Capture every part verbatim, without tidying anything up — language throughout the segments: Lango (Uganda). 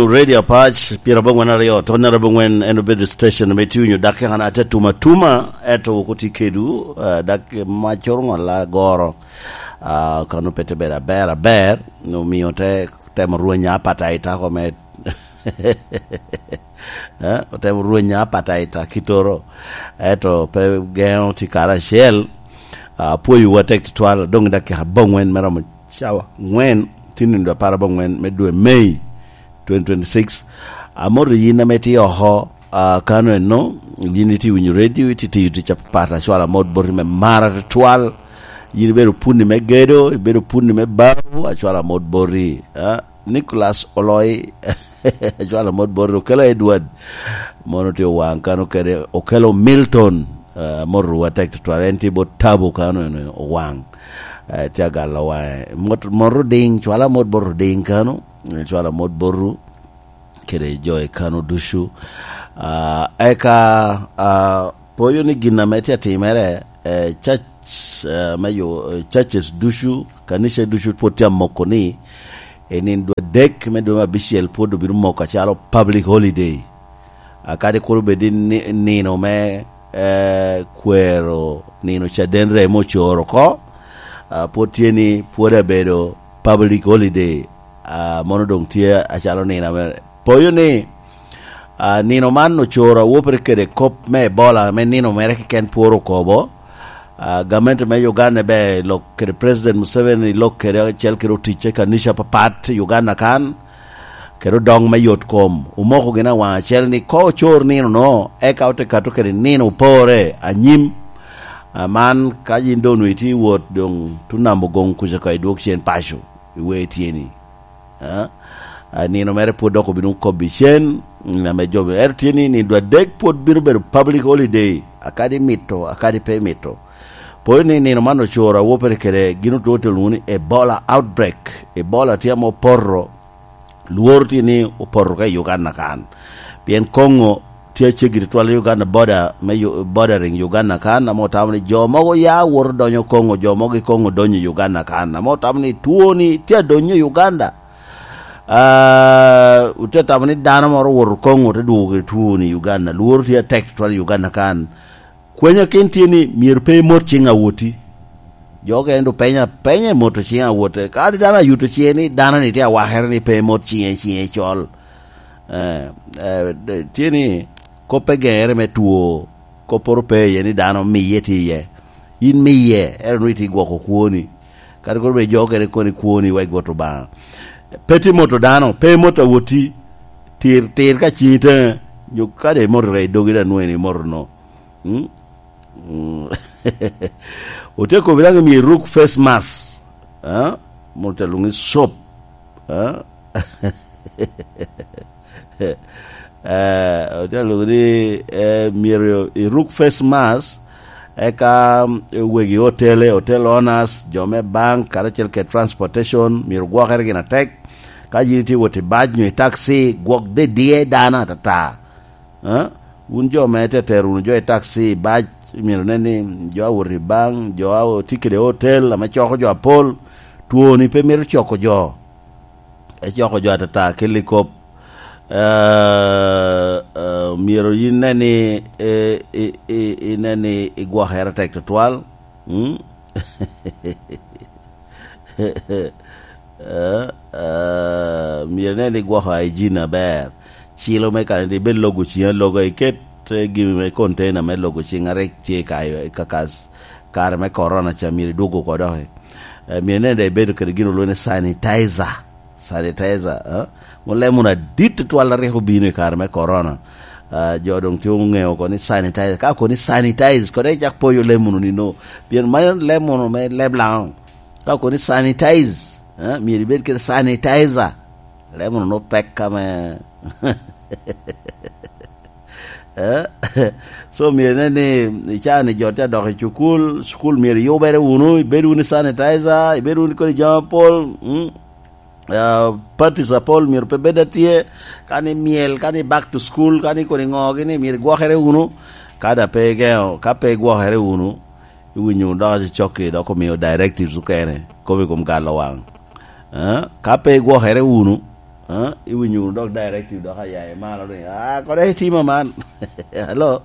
Radio Apac, pyerabongwen aryo, tony arabongwen, en obedo station ame tye winyo dak kekana te tuma tuma, eto wok otye kedwu, eh, dak mac oroŋo ala goro, ah, kano pe te bedo aber aber, omio te temo rwenya apataita kome, eh, otemo rwenya apataita kitoro, eto pe geŋo tye karacel, ah, apwoyowu atek tutwal, doŋ i dakika abongwen me romo cawa angwen, tye nindo apar abongwen me dwe Mei, twenty twenty-six. Amoto yin ame tye oko, ah, kano eno, yin itye winyo redio, itye tiyo tic apat, acwalo amot boti me mara tutwal. Yin ibedo punni me gedo, ibedo punni me bao, acwalo amot boti. Ah, Nicholas Oloi, acwalo amot boti, okelo Edward, mono tye owaŋ kano kede, okelo Milton, ah, amoto wa tek tutwal, en tye bot Tabo kano eno owaŋ. Eh, tye agalo waŋe. Mot, mot Oding, cwala mot bot Oding kano, eh, cwala mot botu, kede jo i kano ducu. Ah, eka, ah, poyo ni gin ame tye atimere, eh, church, eh, me yo, eh, churches ducu, kanica ducu pwod tye amoko ni, i nindo adek me dwe me abicel pwod obino moko acalo public holiday. Ah, kadi kur obed ni ni-, nino me, eh, kwero nino caden remo ocoro oko, ah, pwod tye ni pwod abedo public holiday, ah, mono doŋ tye acalo nino ame poyo ni, ah, nino man ocoro awopere kede kop me Ebola ame nino mere keken pworo okobo. Ah, gamente me Uganda be lok kede President Museveni lok kede acel kede oticce kanica papat i Uganda kan, kede odoŋ me yot kom. Omoko gin awaŋ acel ni ko ocor nino no, eka ote kato kede nino opore anyim. Ah, man ka yin doŋ onwoŋo itye i wot doŋ tunamo goŋ kuca ka idwog cen paco, iwe tyeni. Ah, ah, nino mere pwod dok obino kobbi cen, mm, ame jo, ento tye ni nindo adek pwod bino bedo public holiday, akadi mito, akadi pe mito. Pwod ni nino man ocoro awopere kede gin otwo tye lwongo ni Ebola outbreak. Ebola tye ame opoto, lworo tye ni opoto ka i Uganda kan. Pien Congo tye aceggi tutwal i Uganda, border me Yu-, bordering Uganda kan, ame otamo ni jo mogo ya woto donyo Congo, jo mogo i Congo donyo i Uganda kan, ame otamo ni two ni tye adonyo i Uganda. Ah, ote tamo ni dano moro owoto Congo, te dwogo kede two ni i Uganda. Lworo tye atek tutwal i Uganda kan. Kwenya ken tye ni myero pe imot ciŋ awoti. Jo okene doŋ penyo apenya i moto ciŋ awote. Kadi dano ayuto ciŋe ni dano-ni tye awakere ni pe imot ciŋe, ciŋe col. Eh, eh, de-, tye ni kop pe geŋere me two, kopporo pe iye ni dano miye tye iye. Yin miye, ento nwoŋo itye gwoko kwoni. Kadi kono bed jo okene koni kwoni wek bot Obaŋa. Pe tye moto dano, pe imot awoti, tir, tir ka ciŋi teŋe, nyo kadi imoto ka i dogi daŋ nwoŋo en imoto no. Mm? Mm. Ote kobo daŋ myero iruk face mask. Ah? Mono te lwoŋo ni soap. Ah? Eh, ote lwoŋo ni, eh, myero iruk face mask, eka, mm, wegi otele, hotel owners, jo me bank, karacel kede transportation, myero gwokere gin atek. Ka yin itye wot i bac nyo i taxi, gwok didie dano atata. Eh? Wun jo me teter wunu jo i taxi, i bac, myero nen ni jo a wot i bank, jo a tye kede hotel ame coko jo apol, twoni pe mito coko jo. Ecoko jo atata, kelli kop. Eh, eh, myero yin nen ni, eh, i, i, i nen ni igwokere tek tutwal. Mm? Eh, eh, myero inen ni igwoko hygiene aber. Cilo me kare ni ibed logo ciŋi aloga, iket, eh, gin me container me logo ciŋ a rik tye ka, ka, ka, kare me corona ca myero idwogo oko doki. Eh, myero inen ni ibedo kede gin olwongo ni sanitizer. Sanitizer, eh? Mo lemon adit tutwal a rik obino i kare me corona. Ah, jo doŋ tye oŋeo oko ni sanitizer. Ka oko ni sanitize, kode icak poyo lemon onino. Pien man lemon me leb laŋo. Ka oko ni sanitize, eh, myero ibed kede sanitizer. Lemon onwo pek ame. Eh? So, myero inen ni i caa ni jo tye adok i cukul, cukul myero iyubere wunu, ibed wunu i sanitizer, ibed wunu kodi jami apol, mm? Ah, parties apol myero pe bed atye, ka ni myel, ka ni back to school, ka ni kodi ŋo gini myero igwokere wunu, ka da pe igeŋo, ka pe igwokere wunu, iwinyo wunu dok acocokki, dok omio directives okene, kobo i kom galo waŋ. Eh? Ka pe igwokere wunu, Ah, iwinyo wunu dok directive dok aya i malo ni, "Ah, kodi itimo man." Hello?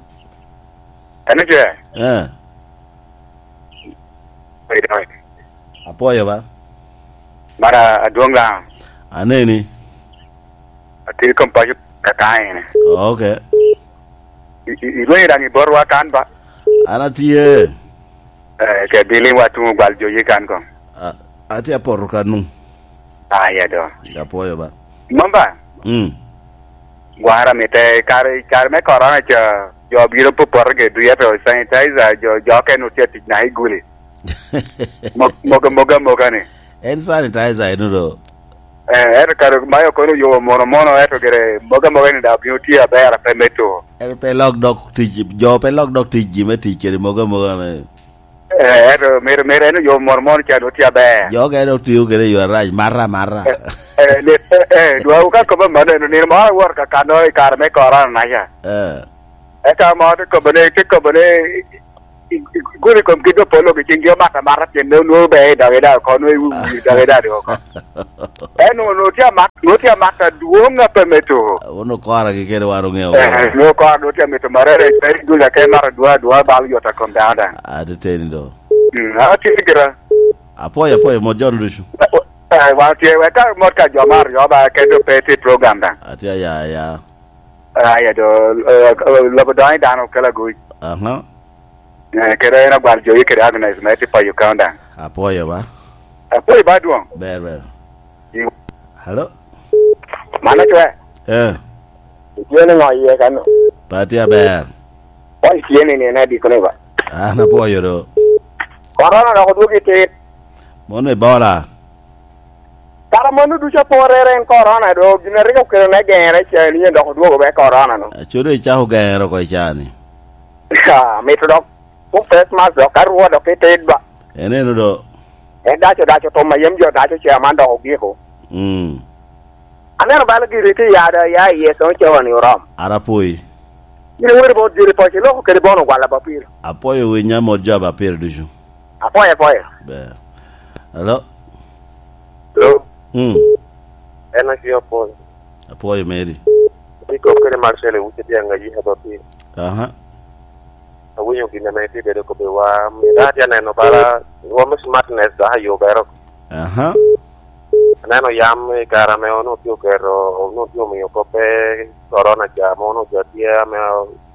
Eno ce? Eh. Apwoyo ba. Mara adwoŋ daŋ. Aneni. Atye i kom paco kaka ene. Oh, okay. I, i, ilwenyo daŋ i botwa kan ba? An atye. Eh, ke biliŋ wa tuŋ gwal jo ye kan kong. A, atye apoto kanu. Ah, ya do. Apwoyo ba. Mamba? Mm. Gwara mite kare, kare me corona ca, jo biro popote ge duyete o sanitizer, jo, jo ken otye tic na i guli. Mo-, moga, moga, moga ni. En sanitizer eno do. Eh, ento kare ma yo kono yo mono mono, ento gire moga moga ni da obino tye aber, pe me to. En pe lok dok tic, jo pe lok dok tic ji me tic kede moga moga me. Eh, ento mere, mere en yo mono mono ca do tye aber. Jo ka en otio kede yo arac, mara, mara. Eh, eh, le-, eh, eh, dwawu ka kobo mano, eno nino moro awot ka kano i kare me corona na ca. Eh. Eka mo te kobo ne, te kobo ne, i, i, i, gudi kom gi do polo gi cing gi omata mata pien ne onwoŋo be i doge da oko, nwoŋo i wi, wi doge da oko. En onwoŋo tye amak, nwoŋo tye amak adwoŋ a pe me to. Wun okora gi kede wan oŋeo. Eh, nwoŋo okora nwoŋo tye amito marere, pe i dul ake mata adwoŋ adwoŋ bal yot a kom dano daŋ. Ateteni do. Mm, a tye gira. Apwoyo, apwoyo, mot jo ducu. Eh, wan tye, wek ka mot ka jo mar jo ba kede pe tye program daŋ. Atye aya, aya. Aya do, eh, lobo doŋ i dano kela guc. Aha. Eh, kede en agwal jo kede Agnes me tye payo countdown. Apwoyo ba. Apwoyo ba dwoŋ. Ber, ber. Hello? Mano twe. Eh. Itye ni ŋo iye kano? Pati aber. Wan itye ni nene adiko ni ba? An apwoyo do. Korona dok odwogo i tit. Mono Ebola. Kara mano ducu aporere en korona do, gin a rik okelo ne gere ca ni dok odwogo be korona no. Aco do icako gere oko i caa ni. Ah, mito dok. Tung face mask dok ka rwo dok itit ba. En eno do. En daco daco tom a yam jo daco ce aman dok ogiko. Mm. Aneno bala giri ti yada ya i Yecu ocawa ni orom. Ara poi. Yin weri bot jiri poci loko kede bono gwala ba piro. Apoyo winya mot jo ba piro ducu. Apoyo, apoyo. Be. Hello? Hello? Mm. En acio apoyo. Apoyo meri. Iko kede Marcel wuce dianga yi haba piro. Aha. Awinyo gin ame itye bedo kobbe wa, mito atye aneno bala rwom smartness dok ayubere oko. Aha. Aneno yam i kare ame onwoŋo tye oketo, onwoŋo tye omiyo kop pe corona ca, ame onwoŋo ca tye, ame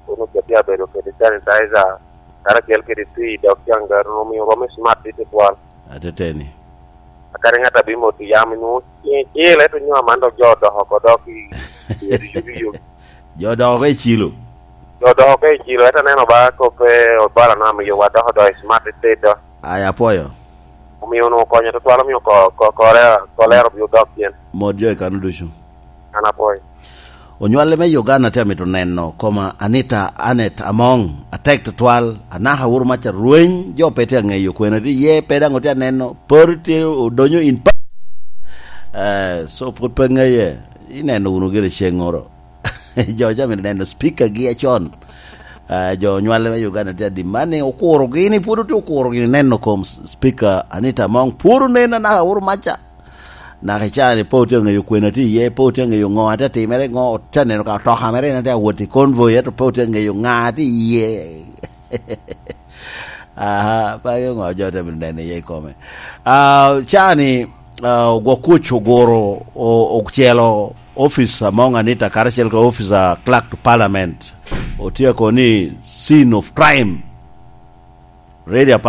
onwoŋo ca tye abedo kede sanitizer, karacel kede tii, dok caŋ gar onwoŋo omiyo rwom smart tutwal. Ateteni. Akadi ŋat a bimot i yam, inwoŋo cil, ento nyo aman dok jo odoko oko dok i, i, i, i, i, Jo odoko oko i cilo. Jo odoko oko i cilo, ento aneno ba kop pe Ebola no amiyo wa dok odoko i smart state do. Ai, apwoyo. Omio onwoŋo konyo tutwal, omio ko-, ko-, kole-, kolera obio dok pien. Mot jo i kano ducu. An apwoyo. Onywale me Uganda tye amito neno koma Anita Annet Among, atek tutwal, anaka wuru maca rweny, jo pe tye aŋeyo kwene tye iye, pe daŋ otye aneno, poro tye odonyo in pa-, eh, so pwod pe ŋeye, ineno wunu gire ceŋŋoro. Jo ca mito neno speaker gi acon. Ah, jo onywale me Uganda tye adi man ni okurogi ni pwod otye okurogi ni neno kom speaker Anita Among pwod onen anaka wuru maca. Naka i caa ni pe otye aŋeyo kwena tye iye, pe otye aŋeyo ŋo atye atimere, ŋo otye aneno ka otoka mere en atye awot i convoy, ento pe otye aŋeyo ŋa tye iye. Aha, pe aŋeyo ŋo jo tye bino neno iye i kome. Ah, caa ni, ah, ogwok kuc oguro, o-, ocelo office Among Anita karacel ka office a clerk to parliament. Otye ako ni scene of crime. Ready apa